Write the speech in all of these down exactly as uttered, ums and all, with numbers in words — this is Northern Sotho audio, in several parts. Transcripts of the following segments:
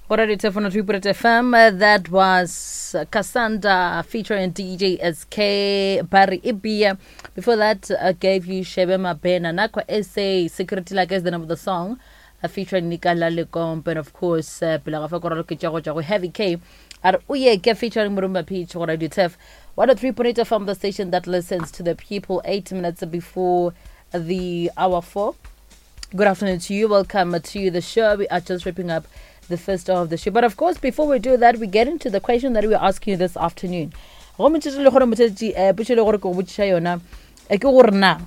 Go Radio Telefono three point F M, uh, that was uh, Cassandra featuring D J S K Barry Ibia. Before that, I gave you Shebe Mabena Nakwa S A Security Like is the name of the song. Uh, featuring Nikala Lekomp and of course uh, pele ga fa ko raloketša go tšwa go Heavy K a re Oyeke featuring Murumba Peach. Go Radio Tef one oh three point eight F M, the station that listens to the people. eight minutes before the hour four. Good afternoon to you. Welcome to the show. We are just wrapping up the first hour of the show. But of course, before we do that, we get into the question that we are asking you this afternoon. Go motšhetši le gore motšhetši eh, potšo e le gore ke go botšiša yona eh, ke gore na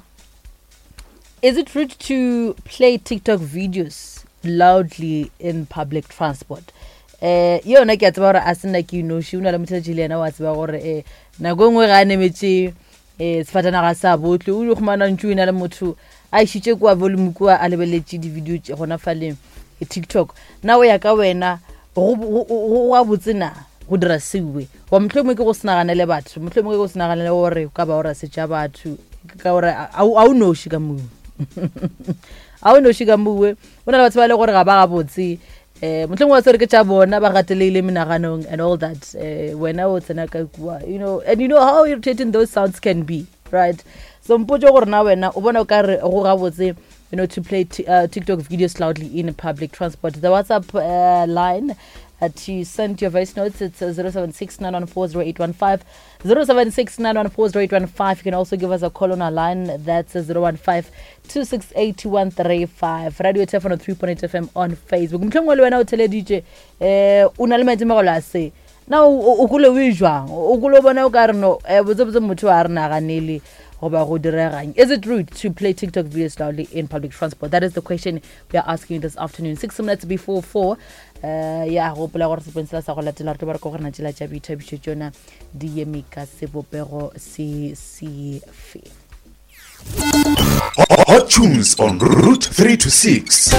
is it rude to play TikTok videos loudly in public transport? Eh, yona ke a tseba gore a se nna ke inoši, o na le motšhetši le yena wa tseba gore eh, nako e nngwe ga a nemetše eh, sefatanaga sa botle o ile khumana ntse o ena le motho a išitše kua volume kua a lebeletše di-video tše gona fale eh, TikTok. Na o ya ka wena go go- go go gabotse na go dira sewe goba mohlomongwe ke go se naganele batho, mohlomongwe ke go se naganele gore ka ba o ra setša batho, ka gore a a o noši ka mowe, a o noši ka mowe, o na le batho ba e le gore ga ba gabotse um mohlomongwe wa tsere ke tša bona ba gatelehile menaganong and all that. um wena o tsena ka kua, you know and you know how irritating those sounds can be, right? So mpotse gore na wena o bona o ka re go gabotse you know to play t- uh, TikTok videos loudly in public transport. The WhatsApp uh, line uh, to send your voice notes, it's uh, zero seven six nine one four zero eight one five, zero seven six nine one four zero eight one five. You can also give us a call on our line, that's uh, zero one five two six eight two one three five. Radio Telefono three point eight F M on Facebook. Mohlomongwe le wena o theleditše eh o na le maitemogelo a se na o o kole o e jwang, o kole o bona o ka re no eh, botsebotse motho a re naganele goba go diregang. Is it rude to play TikTok videos loudly in public transport? That is the question we are asking you this afternoon. Six minutes before four. uh, ya gopola gore sepensela sa go latela re tlo ba re ko gore na tšela tša boithabišo tšona di eme ka sebopego se sefe. Hot tunes on Route three to six.